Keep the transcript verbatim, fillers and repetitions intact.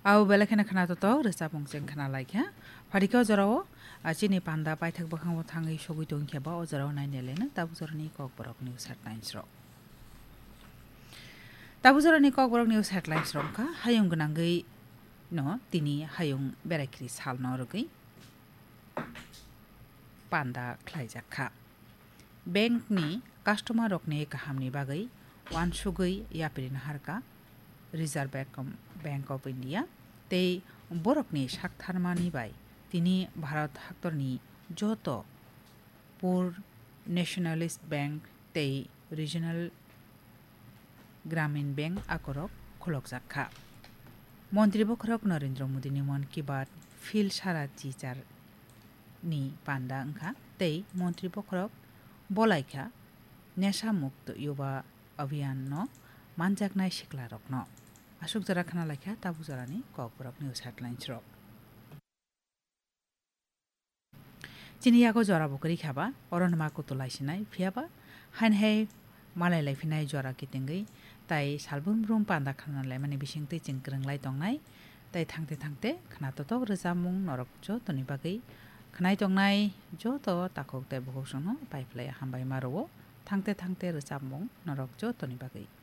Abo belai kheno khna totok rwchapmung chwng khna lai kha. Pharikhe o jorao, a, chini panda paithak bwkhango thangwi sogwi tong khe ba o jorao nainai laino tabuk jorani Kokborok news headlines rok. Tabuk jorani Kokborok news headlines rok wngkha hayung gwnangwi no tini hayung berai khiri salno rwgwi panda khlaijak kha. Bank ni customer rokni kahamni bagwi uansugwi yapri naharkha Reserve Bank of, Bank of India tei borokni saktharmani bai tini Bharat haktorni joto Poor Nationalist Bank tei Regional Gramin Bank akorok khulokjak kha. Montri bokhorok Narendra Modi ni Mann Ki Baat phil sara chichar ni panda wngkha tei montri bokhorok bolaikha Nesha Mukto Yuva Abhiyan no manjaknai siklarokno. Aswk jora khna laikha tabuk jorani Kokborok news headlines rok. Chini yago jora bo kwrwi kha ba, oro no ma kutu lai sinai, phiya ba haini hai malai lai phinai jora kitingwi, tai salbrum brum panda khna lai mani bising twi chwng kwrwng lai tongnai, tai thangte thangte khna totok rwchapmung norok jotoni bagwi, khnai tongnai joto takhuk tai bukhuk songno pai phlai hambai ma rwo, thangte thangte rwchapmung norok jotoni bagwi.